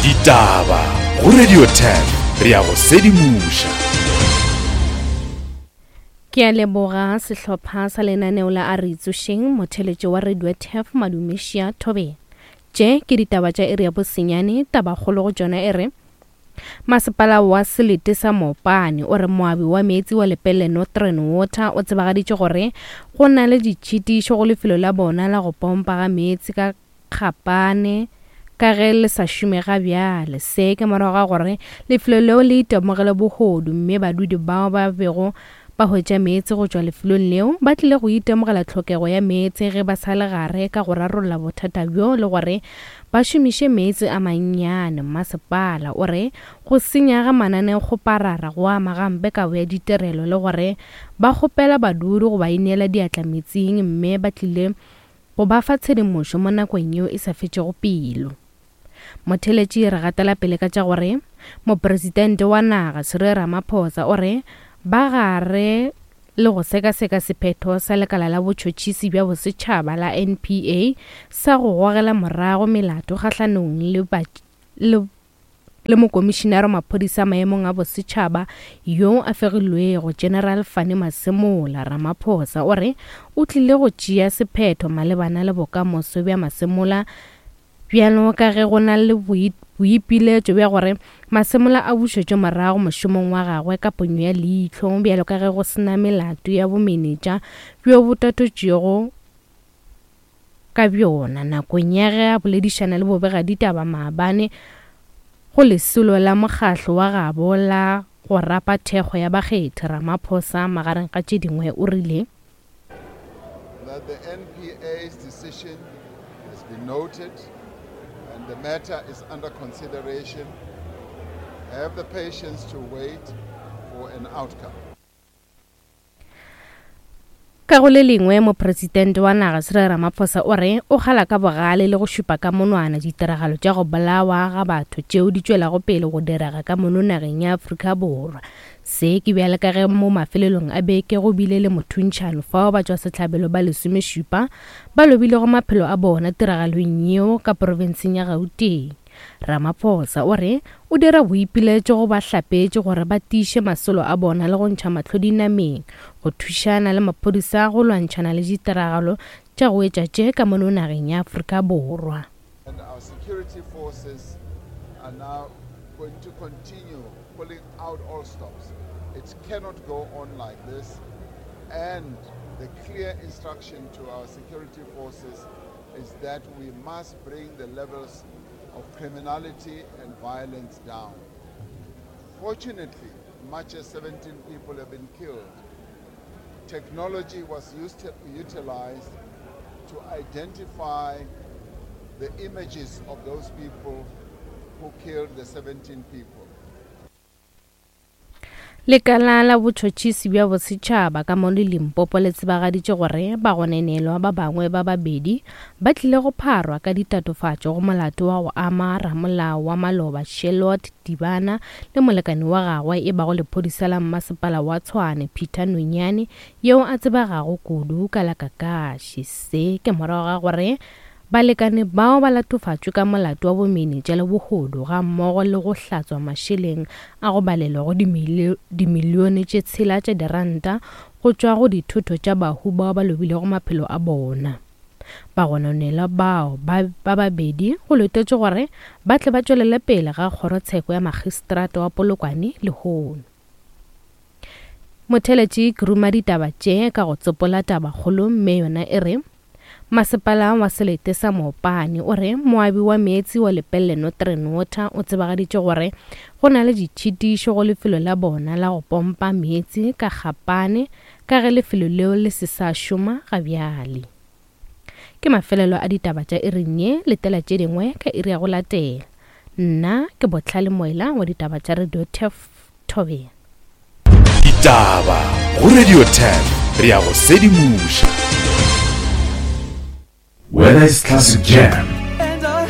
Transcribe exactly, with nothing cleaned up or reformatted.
Ditaba go Radio Turf, re ya go sedimoša. Ke a leboga sehlopha sa lenaneo la A Re Itsošeng, motheletšo wa Radio Turf Madumešia Thobela. Tše ke ditaba tša iri ya bosenyane, tabakgolo go tšona e re Masepala wa selete sa Mopane o re moabi wa meetse wa Lepelle Northern Water o tsebagaditše gore go na le ditšhitišo go lefelo la bona la go pompa ga meetse ka Kgapane ka ge le sa šome ga bjale. Se ke morago ga gore lefelo leo le itemogele bohodu mme badudi bao ba bego ba hwetša meetse go tšwa lefelong leo ba tlile go itemogela tlhokego ya meetse ge ba sa le gare ka go rarolla bothata bjo le gore ba šomiše meetse a mannyane. Masepala o re go senya ga mananeokgoparara go ama gampe kabo ya ditirelo le gore ba kgopela badudi go ba ineela diatla metsing mme ba tlile go ba fa tshedimošo mo nakong yeo e sa fetšego pelo. Motheletši re gatela pele ka tša gore mopresidente wa naga Cyril Ramaphosa o re ba gare le go sekaseka sephetho sa lekala la botšhotšhisi bja bosetšhaba la N P A sa go gogela morago melato kgahlanong le ba, le, le mokomišinare wa maphodisa maemong a bosetšhaba yo a fegilwego General Fannie Masemola. Ramaphosa o re o tlile go tšea sephetho malebana le bokamoso bja Masemola bjalo ka ge go na le boipiletšo bja gore Masemola a bušetšwe morago mošomong wa gagwe ka ponyo ya leihlo bjalo ka ge go sena melato ya bomenetša bjo bo tatotšwego ka bjona. Nakong ya ge a boledišana le bobegaditaba maabane go lesolo la mokgahlo wa gabo la go rapa thekgo ya bakgethi, Ramaphosa magareng ga tše dingwe o rile that the N P A's decision has been noted and the matter is under consideration. Have the patience to wait for an outcome. Ka go le lengwe, mopresidente wa naga Cyril Ramaphosa o re o kgala ka bogale le go šupa ka monwana ditiragalo tša go bolawa ga batho tšeo di tšwelago pele go direga ka mono nageng ya Afrika Borwa. Se ke bjale ka ge mo mafelelong a beke go bile le mothuntšhano fao batšwasehlabelo ba lesomešupa ba lobilego maphelo a bona tiragalong yeo ka profenseng ya Gauteng. Ramaphosa o re o dira boipiletšo go bahlapetši gore ba tiiše masolo a bona le go ntšha mahlo dinameng go thušana le maphodisa go lwantšhana le ditiragalo tša go etša tše ka mono nageng ya Afrika Borwa. And our security forces are now going to continue pulling out all stops. It cannot go on like this, and the clear instruction to our security forces is that we must bring the levels of criminality and violence down. Fortunately, much as seventeen people have been killed, technology was used to, utilized to identify the images of those people who killed the seventeen people. Lekala la botšhotšhisi bja bosetšhaba ka mo le Limpopo le tsebagaditše gore bagononelwa ba bangwe ba babedi ba tlile go pharwa ka ditatofatšo go molato wa go ama ramolao wa maloba Charlotte Dibana le molekane wa gagwe e bago lephodisa la mmasepala wa Tshwane Peter Nonyane yeo a tsebegago kudu ka la Kakashi. Se ke morago ga gore balekane bao ba latofatšwe ka molato wa bomenetša le bohodu ga mmogo le go hlatswa mašeleng a go balelwa go dimilione tše tshela tša diranta go tšwa go dithoto tša bahu bao ba lobilego maphelo a bona. Bagononelwa bao ba babedi go letetšwe gore ba tle ba tšwelele pele ga kgorotsheko ya magistrata wa Polokwane lehono. Motheletši ke ruma ditaba tše ka go tsopola tabakgolo mme yona e re Masepala wa selete sa Mopane o re moabi wa meetse wa Lepelle Northern Water o tsebagaditše gore go na le ditšhitišo go lefelo la bona la go pompa meetse ka Kgapane ka ge lefelo leo le se sa šoma ga bjale. Ke mafelelo a ditaba tša iring ye, letela tše dingwe ka iri ya go latela. Nna ke Botlhale Moela wa ditaba tša Radio Turf Thobela. Ditaba go Radio Turf, re ya go sedimoša. Whether it's classic jam